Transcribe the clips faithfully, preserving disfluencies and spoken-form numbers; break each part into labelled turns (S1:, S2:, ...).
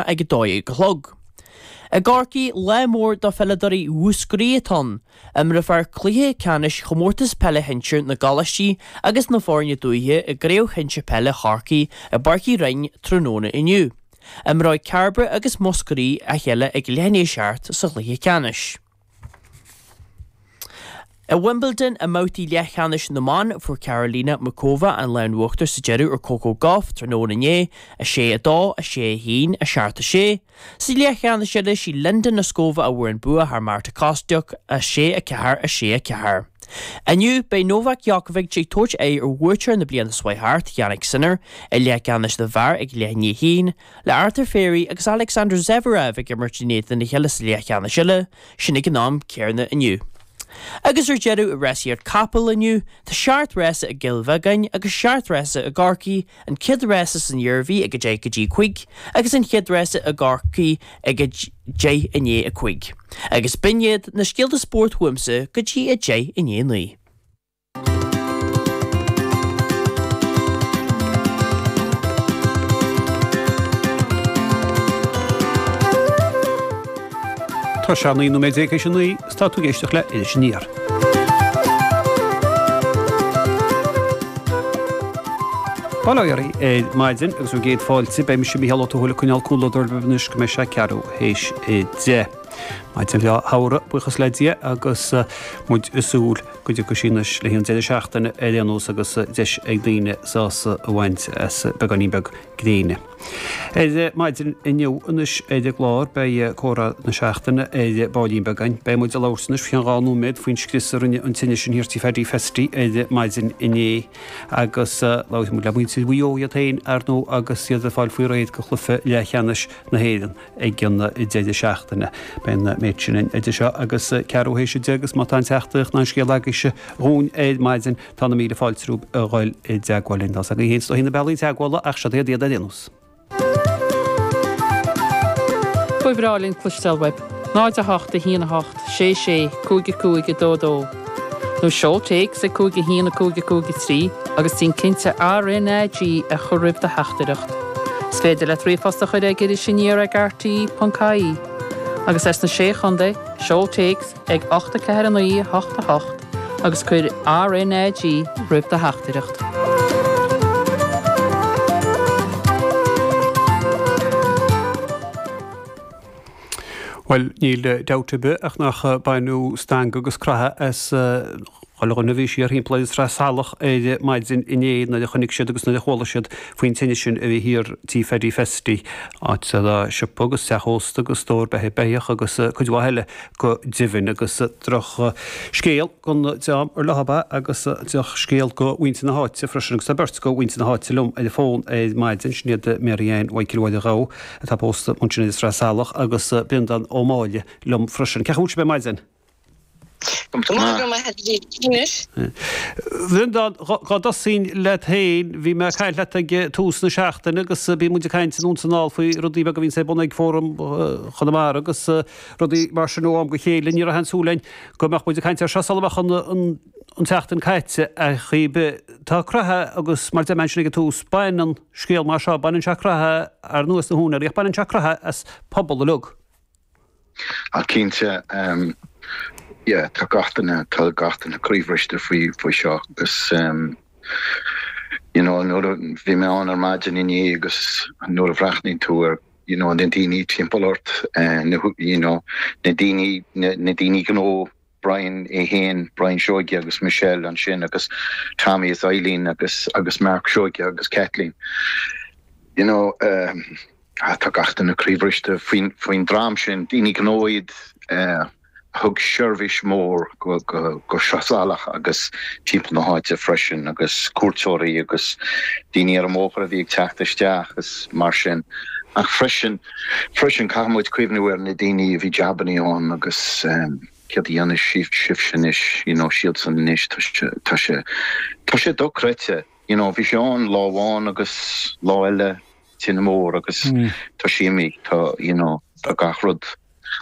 S1: ag a dó dhéag a chlog. I gCorcaigh, lá mór do pheileadóirí Mhúscraí atá ann. Imreofar cluiche ceannais chomórtas peile shinsir na gcoláistí agus na bhfoirne dúiche i gCraobh Shinsir Peile Chorcaí i bPáirc Uí Rinn tráthnóna inniu. Imreoidh Cairbre agus Múscraí a chéile ag leath i ndiaidh a seacht sa chluiche ceannais. I Wimbledon, i mbabhtaí leathcheannais na mban, fuair Karolina Muchova an lámh in uachtar sa deireadh ar Coco Gauff tráthnóna inné, a sé a dó, a sé a haon, a seacht a sé. Sa leathcheannais eile, sí Linda Noskova a bhfuair an bua thar Marta Kostyuk, a sé a ceathair, a sé a ceathair. Inniu, beidh Novak Djokovic ag tabhairt aghaidh ar bhuaiteoir na bliana seo thart, Jannik Sinner, i leathcheannais na bhfear ag leath i ndiaidh a haon, le Arthur Fery agus Alexander Zverev ag imirt in éadan a chéile sa leathcheannais eile, sin ag an am céanna inniu. Agus ar deireadh, i rásaíocht capall inniu, tá seacht rása i gCill Bheagáin agus seacht rása i gCorcaigh, an chéad rása san Iarmhí ag a deich go dtí a cúig agus an chéad rása i gCorcaigh ag a deich i ndiaidh a cúig. Agus b'in iad na scéalta spóirt uaimse go dtí a deich i ndiaidh a naoi.
S2: Tá sé naoi nóiméad déag théis a naoi is tá tú ag éisteacht le Iris Aniar. Bail ó Dhia oraibh ar maidin agus bhur gcéad fáilte. Beidh mise Mícheál Ó Tuathail ag coinneáil comhluadar libh anois go mbeidh sé ceathrú théis a deich. Maidin bhreá shamhraidh, buíochas le Dia, agus muid ag súil go dtiocfaidh sí anois le haghaidh an deireadh seachtaine ar aon nós agus deis ag daoine sásamh a bhaint as beagáinín beag gréine. Ar maidin inniu anois ar an gclár beidh comhrá na seachtaine ar baillín beag againn. Beidh muid ag labhairt anois faoi cheann dhá nóiméad faoin scrios a rinne an tine sin thiar tí Phaddy Festy ar maidin inné agus labharfaidh muid le muintir Mhaigh Eo iad féin ar ndóigh agus iad ag fáil faoi réir do chluiche leathcheannais na hÉireann. ag an deireadh seachtaine. Beidh an méid sin idir seo agus ceathrú théis a deich agus má tá aon teachtaireacht ná aon scéal agaibhse dhúinn ar maidin tá na míle fáilte romhaibh a dhul i dteagmháil linn. Tá's agaibh féin is dóichí na bealaí teagmhála ach seod iad iad ar aon nós.
S3: Ba bhreá linn cloisteáil uaibh. náid a hocht a haon a hocht sé sé cúig a cúig a dó dó. Nó seol téacs ag cúig a haon a cúig a cúig a trí agus déan cinnte RnaG a chur roimh do theachtaireacht. Is féidir leat ríomhphost a chur ag Iris Aniar ag R T ponc I E agus as na Sé Chontae, seol téacs ag ocht a ceathair a naoi a hocht a hocht agus cuir R N A G roimh do theachtaireacht.
S2: Bhuel, níl dabht ar bith ach nach baineadh stangadh agus croitheadh as chuile dhuine a bhí siar thimpeall ar an Sraith Salach ar maidin inné nuair a chonaic siad agus nuair a chuala siad faoin tine sin a bhí thiar tí Phaddy Festy, áit a raibh siopa agus teach ósta agus stór beithe beithíoch agus cuid mhaith eile go deimhin. Agus droch scéal don dream ar leob é agus droch scéal do mhuintir na háite freisin agus tá beirt de mhuintir na háite liom ar an bhfón ar maidin, sin iad Mary Ann Mhichael Mháire Ghabha atá pósta ansin ar an Sraith Salach agus Breandán Ó Máille liom freisin. Cén chaoi a bhfuil sibh ar maidin?
S4: Go maith, go maith, anois.
S2: Bhreandán, dhá dtosóinn leat féin, bhí mé ag caint leat ag tús na seachtaine agus bíonn muid ag caint anonn is anall faoi rudaí beaga a bhíonns ar bun ag Fóram Chonamara agus rudaí mar sin ó am go chéile. Ní raibh aon tsúil againn go mbeadh muid ag caint air seo sula mbeadh an tseachtain caite ar chaoi ar bith. Tá croitheadh agus mar a deir mé ansin ag an tús, baineann scéal mar seo, baineann sé croitheadh ar ndóigh as na húinéirí ach baineann sé croitheadh as pobal uilig.
S5: Ach cinnte, yeah, tá gach duine, tá gach duine croíbhriste faoi, faoi seo agus you know, nuair a bhí mé ann ar maidin inné agus nuair a bhreathnaíonn tú ar you know, na daoine timpeall ort, na, you know, na daoine, na, na daoine gnó, Brian é féin, Brian Seoige agus Michelle ansin agus Tommy is Eileen agus, agus Mark Seoige agus Kathleen. You know, tá gach duine croíbhriste faoin, faoin dream sin, daoine gnó iad a thug seirbhís mhór go, go, go Sraith Salach agus timpeall na háite freisin agus cuairteoirí agus daoine ar an mbóthar a bhí ag teacht isteach is mar sin. Ach freisin, freisin caithfidh muid cuimhniú ar na daoine a bhí jabannaí ann agus céard a dhéanfaidh sibhse anois, you know, siadsan anois, tá sé, tá sé, tá sé dochreidte, you know, bhí sé ann lá amháin agus lá eile tine mór agus tá sé imithe, tá, you know, tá gach rud,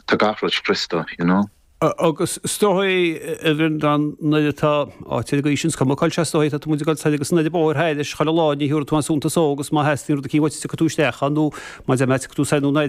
S5: tá gach rud scriosta, you know.
S2: Agus is dóigh a Bhreandán nuair atá áit ar an gcaoi sin, is cuma cá bhfuil sé is dóigh, tá muid ag dul soir agus anall an bóthar thairis chuile lá ní thiúrfaidh tú aon suntas dó agus má theastaíonn rud eicínt uait tiocfaidh tú isteach ann nó má deir mé tiocfaidh tú soir nó anoir.